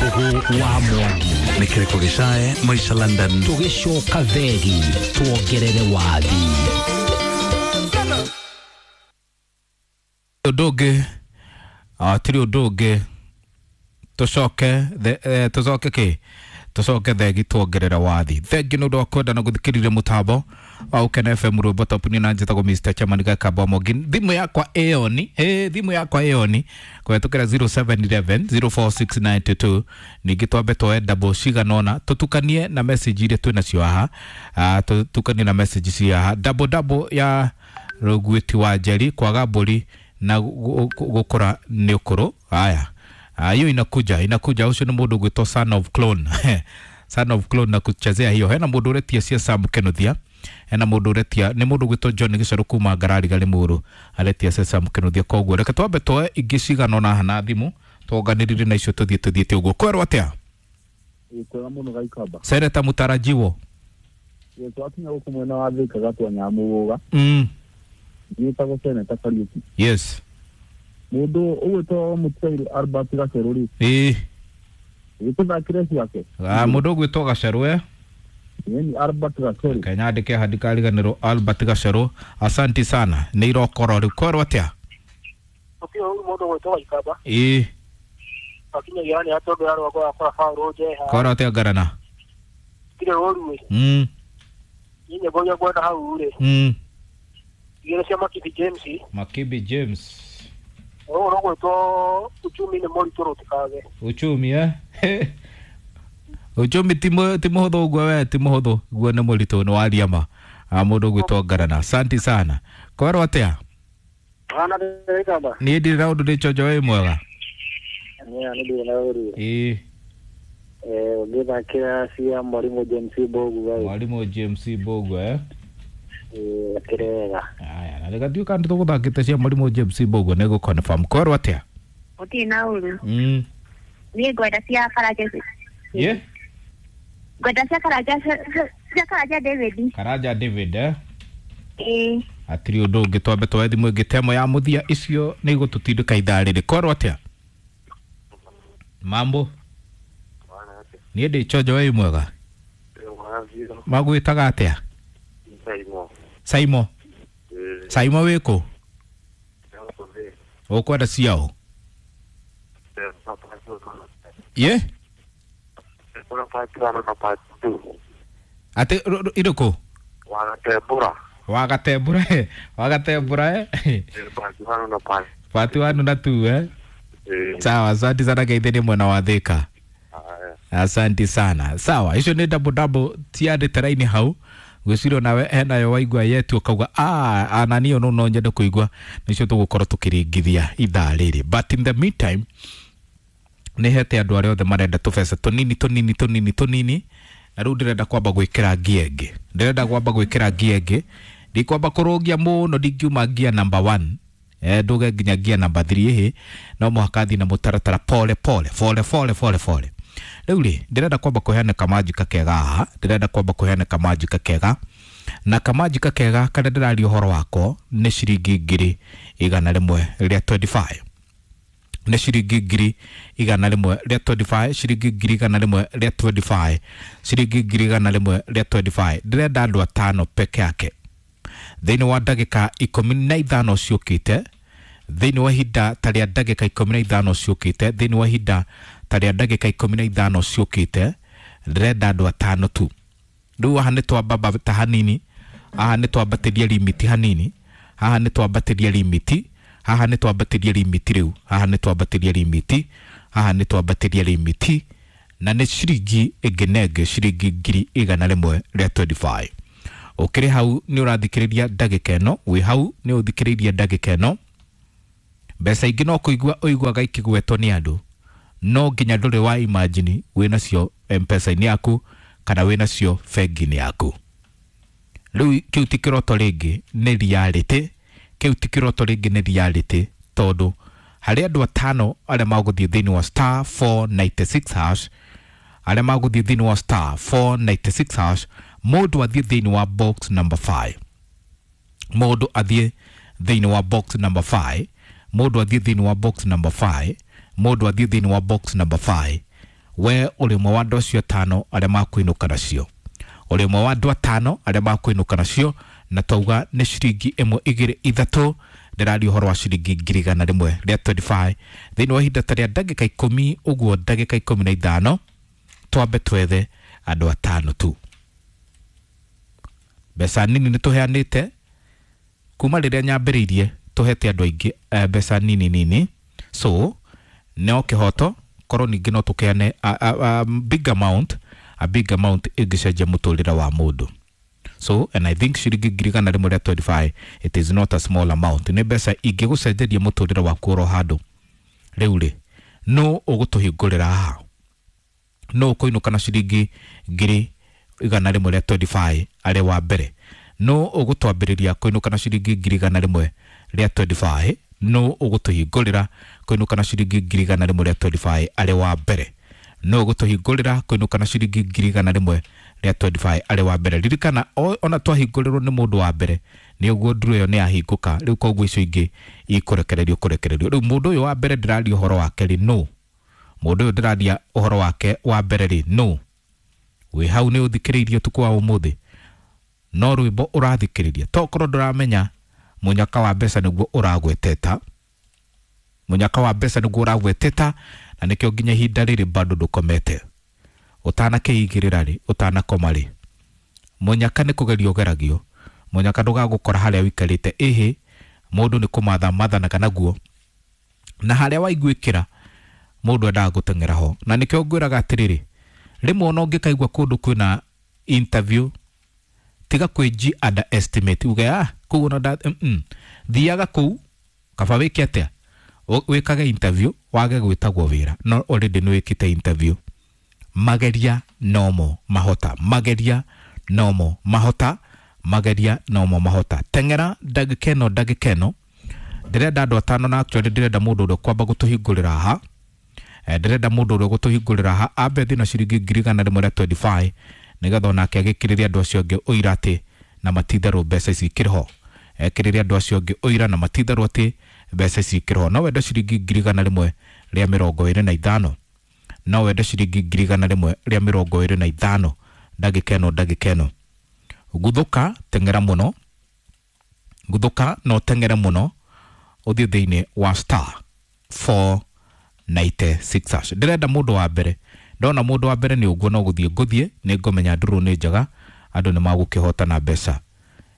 Mbugu wa Mwangi. Nĩ kĩrĩko gĩcae Maisha London. Tũgĩcoka thegi tuongerere wathi. Ũndũ ũngĩ tiri ũndũ ũngĩ tũcoke tũcoke kĩ tũcoke thegi tuongerere wathi. Thengi nĩ ũndũ wa kwenda na gũthikĩrĩria mũtambo wa Ũkena FM rwĩmbo top nĩ na njĩtagwo Mr. Chairman Gakamba Mwangi. Thimũ yakwa ĩoni thimũ yakwa ĩoni kũhetũkĩra 0711 046922. Ningĩ twambe tuoe double cigana ũna tũtukanie na message iria twĩ nacio haha, tũtukanie na message cia haha double double ya Rũguĩti wa Njeri kwaga mbũri na gũkũra nĩ ũkũrũ. Haya, hiyo inakuja inakuja. Ucio nĩ mũndũ ũgwĩtwo son of clone son of clone na kuchezea hiyo. Hena mũndũ ũretia cia Sam Kenothia, hena mũndũ ũretia nĩ mũndũ ũgwĩtwo John Gĩcarũ kuma Ngarari Limuru aretia cia Sam Kenothia. Koguo reke twambe tuoe ingĩ cigana ũna na thimũ tuonganĩrĩrie na icio tũthiĩ tũthiĩte ũguo. Kwerwo atĩa? Kwega mũno Gaikamba. Seneta mũtarajiwo. Twakinya gũkũ mwena wa Thika gatua Nyamũgũga. Njĩtagwo Seneta Kariũki. Yes. Mũndũ ũgwĩtwo Mũtigairĩ Albert Gacerũ rĩ, gĩtũthakĩre ciake. Mũndũ ũgwĩtwo Gacerũ Ĩni Albert Gacerũ. Kenya andĩke handikariganĩrwo Albert Gacerũ. Asanti sana nĩ irokoro rĩu. Kwerwo atĩa? Gũtirĩ ũru mũndũ ũgwĩtwo Gaikamba. Akinyagia nĩ atondũ ya rwako wakora Paũlũ Njeha. Kwerwo atĩa Ngarana? Gũtirĩ ũru ĩ. Niĩ nyĩmbo iria ngwenda hau rĩ, igĩrĩ cia Makibi James. Makibi James. Ũyũ ũgwĩtwo uchumi nĩ mũritũ rũtikage. Uchumi uchumi ti mũhũthũ ũguo we ti mũhũthũ guo nĩ mũritũ nĩ waria ma. Mũndũ ũgwĩtwo Ngarana asanti sana. Kwerwo atĩa? Hana Gaikamba. Niĩ ndirĩ na ũndũ ndĩ chonjo wĩ mwega. Nĩ ndirĩ na ũru. Ũngĩthakĩra cia Mwarimũ James Mbũgua. Mwarimũ James Mbũgua Akĩrĩ wega. Aya, na reke tuĩka nĩ tũgũthakĩte cia Mwarimũ James Mbũgua nĩ gũ-confirm. Kwerwo atĩa? Gũtirĩ na ũru. Niĩ ngwenda cia Karanja. Ye? Ngwenda cia Karanja cia Karanja David. Karanja David Ĩĩ. Hatirĩ ũndũ ũngĩ twambe tuoe thimũ ĩngĩ temo ya mũthia icio nĩ igũtũtindĩka ithaa rĩrĩ. Kwerwo atĩa? Mambo. Niĩ ndĩ chonjo wĩ mwega. Magwĩtaga atĩa? Saimo. Saimo wĩkũ? Ũkwenda ciao? Ye? Atĩ irĩkũ? Wagatembũra wagatembũra part 1 na 2 Sawa, asante sana geithĩrie mwena wa Thika. Asante sana. Sawa, icio nĩ double double tiandĩte raini hau gwĩciria nawe henayo waigua yetu ũkauga ananiyo no nyende kũigua nĩcio tũgũkorwo tũkĩringithia ithaa rĩrĩ. But in the meantime nĩ hete andũ arĩa othe marenda tũbeca tũnini tũnini tũnini tũnini na rĩu ndĩrenda kwamba gwĩkĩra ngia ĩngĩ, ndĩrenda kwamba gwĩkĩra ngia ĩngĩ, ndikwamba kũrũngia mũno ndingiuma ngia number 1 nduge nginya ngia number 3 ĩhĩ no mũhaka thiĩ na mũtaratara pole pole pole pole pole pole. Rĩu rĩ ndĩrenda kwamba kũheana kamanjika kega haha, ndĩrenda kwamba kũheana kamanjika kega na kamanjika kega karĩa ndĩraria ũhoro wako nĩ ciringi 125 nĩ ciringi 125 ciringi 125 ciringi 125. Ndĩrenda andũ atano peke yake thĩinĩ wa ndagĩka 15 ciũkĩte, thĩinĩ wa ihinda ta rĩa ndagĩka 15 ciũkĩte, thĩinĩ wa ihinda ta rĩa ndagĩka 15 ciũkĩte ndĩrenda andũ atano tu. Rĩu haha nĩ twambata hanini, haha nĩ twambatĩria limiti hanini, haha nĩ twambatĩria limiti, haha nĩ twambatĩria limiti rĩu, haha nĩ twambatĩria limiti, haha nĩ twambatĩria limiti na nĩ ciringi ĩngĩ na ĩngĩ ciringi 125. Ũkĩrĩ hau nĩ ũrathikĩrĩria ndagĩka ĩno, wĩ hau nĩ ũthikĩrĩirie ndagĩka ĩno. Mbeca ingĩ no kũigua ũiguaga ikĩgwetwo nĩ andũ, no nginya ndũrĩ wa imagine wĩ nacio M-Pesa-inĩ yaku kana wĩ nacio bengi-inĩ yaku. Rĩu kĩu ti kĩroto rĩngĩ nĩ reality, kĩu ti kĩroto rĩngĩ nĩ reality tondũ harĩ andũ atano arĩa magũthiĩ thĩinĩ wa star 496 hash, arĩa magũthiĩ thĩinĩ wa star 496 hash, mũndũ athiĩ thĩinĩ wa box number 5, mũndũ athiĩ thĩinĩ wa box number 5, mũndũ athiĩ thĩinĩ wa box number 5, mũndũ athiĩ thĩinĩ wa box number 5. We ũrĩ ũmwe wa andũ acio atano arĩa makwĩnũka nacio, ũrĩ ũmwe wa andũ atano arĩa makwĩnũka nacio, na twauga nĩ ciringi 1 2 3. Ndĩraria ũhoro wa ciringi 125 thĩinĩ wa ihinda ta rĩa ndagĩka 10 ũguo, ndagĩka 15, twambe twethe andũ atano tu. Mbeca nini nĩ tũheanĩte kuma rĩrĩa nyambĩrĩirie, tũhete andũ aingĩ mbeca nini nini, so no kĩhoto korwo ningĩ no tũkeane a big amount, a big amount ĩngĩcenjia mũtũrĩre wa mũndũ. So and I think ciringi 125, it is not a small amount, nĩ mbeca ingĩgũcenjeria mũtũrĩre waku oro handũ. Rĩu rĩ, no ũgũtũhingũrĩra haha, no ũkũinũka na ciringi 125 arĩ wa mbere, no ũgũtwambĩrĩria kũinũka na ciringi 125, no ũgũtũhingũrĩra kũinũka na ciringi 125 arĩ wa mbere, no ũgũtũhingũrĩra kũinũka na ciringi 125 arĩ wa mbere. Ririkana ona twahingũrĩrwo nĩ mũndũ wa mbere nĩ ũguo nduru ĩyo nĩ yahingũka rĩu, koguo icio ingĩ ikũrekererio kũrekererio. Rĩu mũndũ ũyũ wa mbere ndĩraria ũhoro wake rĩ, no mũndũ ũyũ ndĩraria ũhoro wake wa mbere rĩ, no wĩ hau nĩ ũthikĩrĩirie ũtukũ wa ũmũthĩ, no rwĩmbo ũrathikĩrĩria, tokorwo ndũramenya mũnyaka wa mbeca nĩguo ũragweteta, mũnyaka wa mbeca nĩguo ũragweteta, na nĩkĩo nginya ihinda rĩrĩ bado ndũkomete, ũtanakĩigĩrĩra rĩ, ũtanakoma rĩ, mũnyaka nĩ kũgerio ũgeragio, mũnyaka ndũgagũkora harĩa ũikarĩte, ĩhĩ mũndũ nĩ kũmatha mathanaga naguo, na harĩa waiguĩkĩra mũndũ endaga gũteng'era ho. Na nĩkĩo ngwĩraga atĩrĩrĩ, rĩmwe ona ũngĩkaigua kũndũ kwĩna interview, tiga kwĩji underestimate, uge ah kũu ona thiaga kũu, kaba wĩke atĩa, wĩkage interview wage gwĩtagwo wĩra, no already nĩ wĩkĩte interview. Mageria nomo mahota, mageria nomo mahota, mageria nomo mahota. Teng'era ndagĩka ĩno, ndagĩka ĩno ndĩrenda andũ atano, na actually ndĩrenda mũndũ ũrĩa kwamba gũtũhingũrĩra haha, ndĩrenda mũndũ ũrĩa gũtũhingũrĩra haha ambe thiĩ na ciringi 125 nĩgetha onake agĩkĩrĩria andũ acio angĩ ũira atĩ na matitherũ mbeca ici ikĩrĩ ho, ekĩrĩria andũ acio angĩ ũira na matitherũ atĩ mbeca ici ikĩrĩ ho. No wende ciringi 125, no wende ciringi 125 ndagĩka ĩno, ndagĩka ĩno. Guthũka teng'era mũno, guthũka no teng'ere mũno, ũthiĩ thĩinĩ wa star 496 hash. Ndĩrenda mũndũ wa mbere, ndona mũndũ wa mbere nĩ ũguo no gũthiĩ ngũthiĩ, nĩ ngũmenya ndũrũ nĩ njega, andũ nĩ magũkĩhota na mbeca.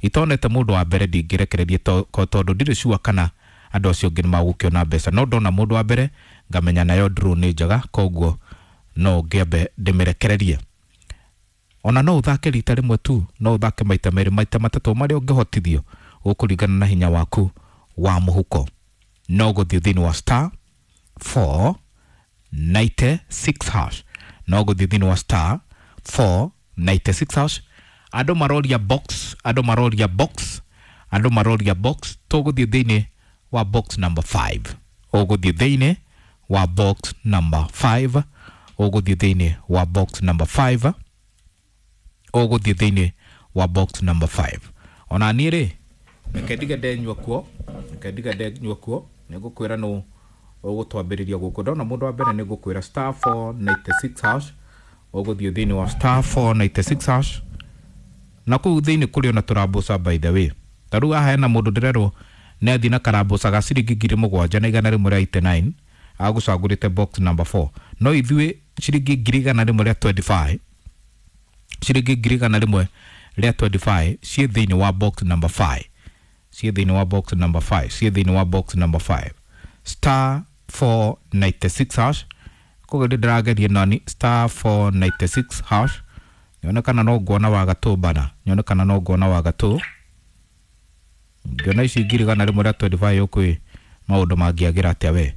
Itonete mũndũ wa mbere ndingĩrekererie tondũ ndirĩ sure kana andũ acio angĩ nĩ magũkĩona mbeca, no ndona mũndũ wa mbere ngamenya nayo ndũrũ nĩ njega, koguo no ngĩambe ndĩmĩrekererie. Ona no ũthake rita rĩmwe tu, no ũthake maita merĩ, maita matatũ, marĩa ũngĩhotithio ũkũringana na hinya waku wa mũhuko. No gũthiĩ thĩinĩ wa star 496 hash, no gũthiĩ thĩinĩ wa star 496 hash. Andũ maroria box, andũ maroria box, andũ maroria box, tũgũthiĩ thĩinĩ wa box number 5, ũgũthiĩ thĩinĩ wa box number 5, ũgũthiĩ thĩinĩ wa box number 5, ũgũthiĩ thĩinĩ wa box number 5. Ona niĩ rĩ, reke ndige ndenyua kuo, reke ndige ndenyua kuo, nĩ ngũkwĩra nũ ũgũtwambĩrĩria gũkũ. Ndona mũndũ wa mbere nĩ ngũkwĩra star 496 hash, ũgũthiĩ thĩinĩ wa star 496 hash. Na kũu thĩinĩ kũrĩ ona tũrambuca by the way, ta rĩu haha hena mũndũ ndĩrerwo nĩ athiĩ na karambuca ga ciringi 7189 agũcagũrĩte box number 4, no ithuĩ ciringi 125, ciringi 125 ciĩ thĩinĩ wa box number 5, ciĩ thĩinĩ wa box number 5, ciĩ thĩinĩ wa box number 5, star 496 hash. Koguo ndĩrageria nani star 496 hash, nyone kana no nguona wa gatũ bana, nyone kana no nguona wa gatũ, ngĩona ici 125 ũkwĩ maũndũ mangĩagĩra atĩa we.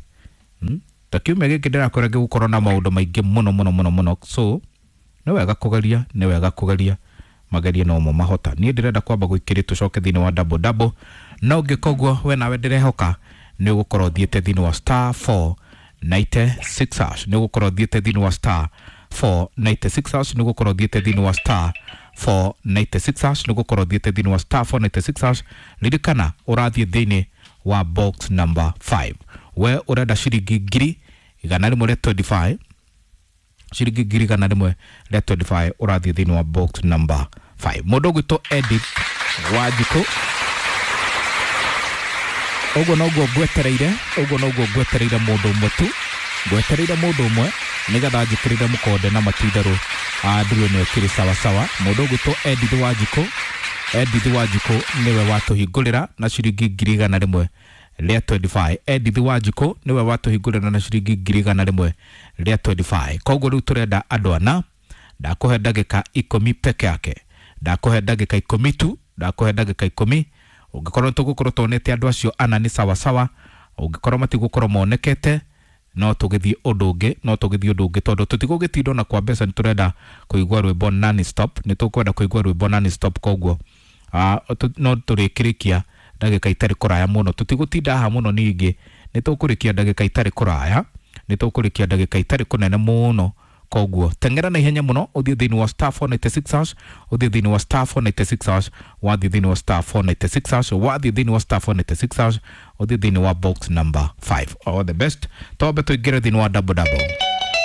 Ta kiumia gĩkĩ ndĩrakwĩra gĩgũkorwo na maũndũ maingĩ mũno mũno mũno mũno, so nĩ wega kũgeria, nĩ wega kũgeria, magerie no mo mahota. Niĩ ndĩrenda kwamba gũikĩria tũcoke thĩinĩ wa double double, no ũngĩka ũguo we nawe ndĩrehoka nĩ ũgũkorwo ũthiĩte thĩinĩ wa star 496 hash, nĩ ũgũkorwo ũthiĩte thĩinĩ wa star 496 hash, nĩ ũgũkorwo ũthiĩte thĩinĩ wa star 496 hash, nĩ ũgũkorwo ũthiĩte thĩinĩ wa star 496 hash. Ririkana ũrathiĩ thĩinĩ wa box number 5, we ũrenda ciringi 125, Ciringi 125,000 ũrathiĩ thĩinĩ wa box number 5. Mũndũ ũgwĩtwo Edith Wanjikũ, ũguo noguo ngwetereire, ũguo noguo ngwetereire mũndũ ũmwe tu, ngwetereire mũndũ ũmwe nĩgetha njĩkĩrĩre mũkonde na matitherũ nduru ĩno ĩkĩrĩ sawasawa. Mũndũ ũgwĩtwo Edith Wanjikũ, Edith Wanjikũ nĩwe watũhingũrĩra na ciringi 125,000. Edith Wanjikũ nĩwe watũhingũrĩra na ciringi 125,000. Koguo rĩu tũrenda andũ ana. Ndakũhe ndagĩka 10 peke yake, ndakũhe ndagĩka 10 tu, ndakũhe ndagĩka 10. Ũngĩkorwo tũgũkorwo tuonete andũ acio ana nĩ sawasawa, ũngĩkorwo matigũkorwo monekete no tũgĩthiĩ ũndũ ũngĩ, no tũgĩthiĩ ũndũ ũngĩ tondũ tũtigũgĩtinda ona kwa mbeca. Nĩ tũrenda kũigua rwĩmbo non stop, nĩ tũkwenda kũigua rwĩmbo non stop. Koguo no tũrĩkĩrĩkia ndagĩka itarĩ kũraya mũno, tũtigũtinda haha mũno. Ningĩ nĩ tũkũrĩkia ndagĩka itarĩ kũraya, nĩ tũkũrĩkia ndagĩka itarĩ kũnene mũno. Koguo teng'era na ihenya mũno ũthiĩ thĩinĩ wa *496#, ũthiĩ thĩinĩ wa *496#, wathiĩ thĩinĩ wa *496#, wathiĩ thĩinĩ wa *496#, ũthiĩ thĩinĩ wa box number 5. All the best. Twambe tũingĩre thĩinĩ wa double double.